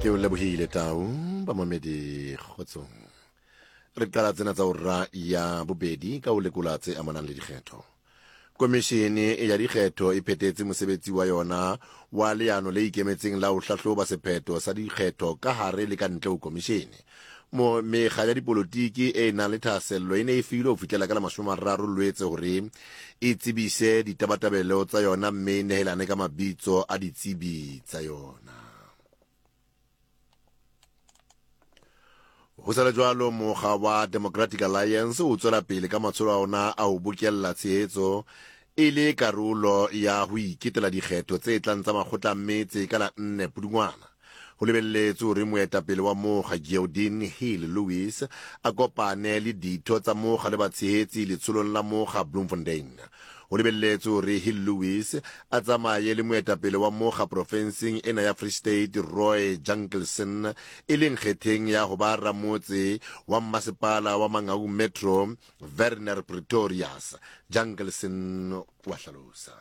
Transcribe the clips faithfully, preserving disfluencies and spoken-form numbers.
Ke o lebohile Tau, bamamedi kgotsong. Re qala tsena tsa ora ya bobedi ka ho lekola tse amanang le dikgetho. Komishene ya dikgetho e phethetse mosebetsi wa yona wa leano le ikemetseng la ho hlahloba sephetho sa dikgetho ka hare le ka ntle ho komishene. Mo mekga ya dipolotiki e nang le thahasello e ne e filwe ho fihlela ka la mashome a mararo Lwetse hore e tsebise ditabatabelo tsa yona mme e nehelane ka mabitso a ditsebi tsa yona. Ho sa le jwalo, mokga wa Democratic Alliance o tswela pele ka matsholo a ona a ho bokella tshehetso e le karolo ya ho iketela dikgetho tse tlang tsa makgotla a metse ka la nne Pudungwana. Ho lebelletswe hore moetapele wa mokga Geordin Hill-Lewis a kopane le ditho tsa mokga le batshehetsi letsholong la mokga Bloemfontein. Ho lebelletswe hore Hill-Lewis a tsamaye le moetapele wa mokga profenseng ena ya Free State Roy Jankelson, e leng kgetheng ya ho ba ramotse wa mmasepala wa Mangaung Metro Werner Pretorius. Jankelson wa hlalosa.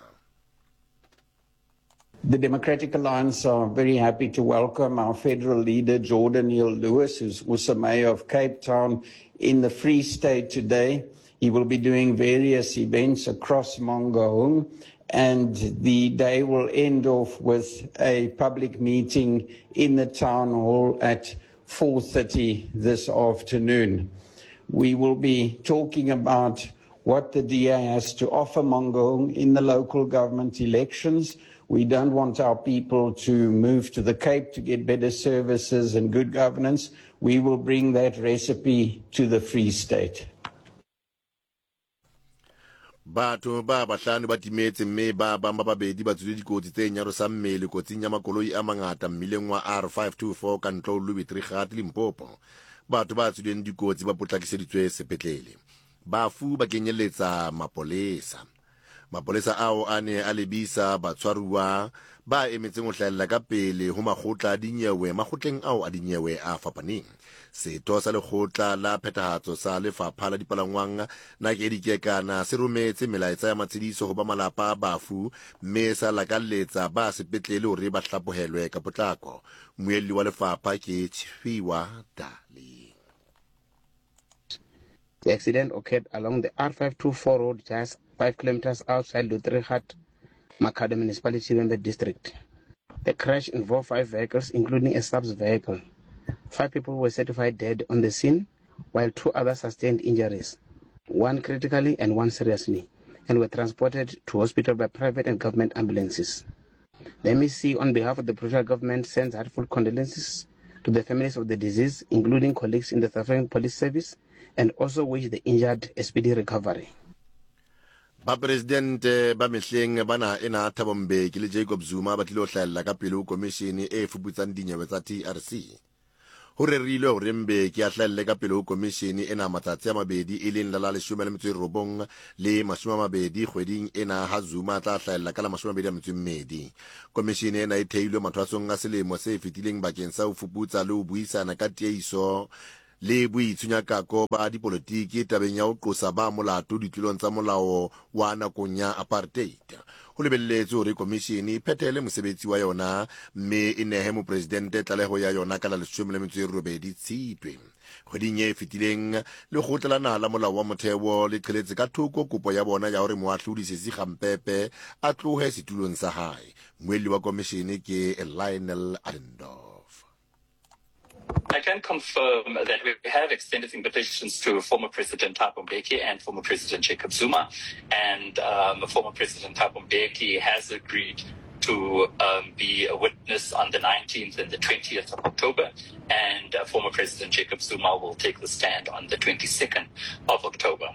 The Democratic Alliance are very happy to welcome our federal leader, Jordan Hill-Lewis, who's also mayor of Cape Town, in the Free State today. He will be doing various events across Mangaung, and the day will end off with a public meeting in the town hall at four thirty this afternoon. We will be talking about what the D A has to offer Mangaung in the local government elections. We don't want our people to move to the Cape to get better services and good governance. We will bring that recipe to the Free State. Batho ba bahlano ba timetse mme ba bang ba babedi ba tswile dikotsi tse nyarosang mmele kotsing ya makoloi a mangata mmileng wa R five two four ka ntle ho Louis Trichardt, Limpopo. Batho ba tswileng dikotsi ba potlakiseditswe sepetlele. Bafu ba kenyeletsa mapolesa. Mapolesa ao a ne a lebisa batshwaruwa ba emetseng ho hlahella ka pele ho makgotla a dinyewe makgotleng ao a dinyewe a fapaneng. Setho sa lekgotla la phethahatso sa lefapha la dipalangwang Nakedi Kekana se rometse melaetsa ya matshediso ho ba malapa a bafu mme sa lakalletsa ba sepetlele hore ba hlaphohelwe ka potlako. Mmuelli wa lefapha ke Tshifhiwa Dali. The accident occurred along the R five two four road just five kilometers outside Lutrigat, Makhado Municipality, Vhembe District. The crash involved five vehicles, including a subs vehicle. Five people were certified dead on the scene, while two others sustained injuries, one critically and one seriously, and were transported to hospital by private and government ambulances. The M E C, on behalf of the provincial government, sends heartfelt condolences to the families of the deceased, including colleagues in the South African Police Service, and also wish the injured a speedy recovery. Ba presidente ba mehleng ba naha ena Thabo Mbeki le Jacob Zuma ba tlilo hlahella ka pele ho komishene e fuputsang dinyewe tsa T R C. Ho rerilwe hore Mbeki a hlahelle ka pele ho komishene ena matsatsi a mabedi, e leng la la leshome le metso e robong le mashome a mabedi kgweding ena, ha Zuma a tla hlahella ka la mashome a mabedi a metso e mmedi. Komishene ena e theilwe mathwasong a selemo se fetileng bakeng sa ho fuputsa le ho buisana ka tieiso le boitshunyakako ba dipolotiki tabeng ya ho qosa ba molato ditlolong tsa molao wa nakong ya apartheid. Ho lebelletswe hore komishene e phethele mosebetsi wa yona mme e nehe mopresidente tlaleho ya yona ka la leshome le metso e robedi Tshitwe. Kgweding e fetileng, lekgotla la naha la molao wa motheo le qheletse ka thoko kopo ya bona ya hore moahlodi Sesi Kgampepe a tlohe setulong sa hae. Mmuelli wa komishene ke Lionel Adendorff. I can confirm that we have extended invitations to former President Thabo Mbeki and former President Jacob Zuma, and um, former President Thabo Mbeki has agreed to um, be a witness on the nineteenth and the twentieth of October, and uh, former President Jacob Zuma will take the stand on the twenty-second of October.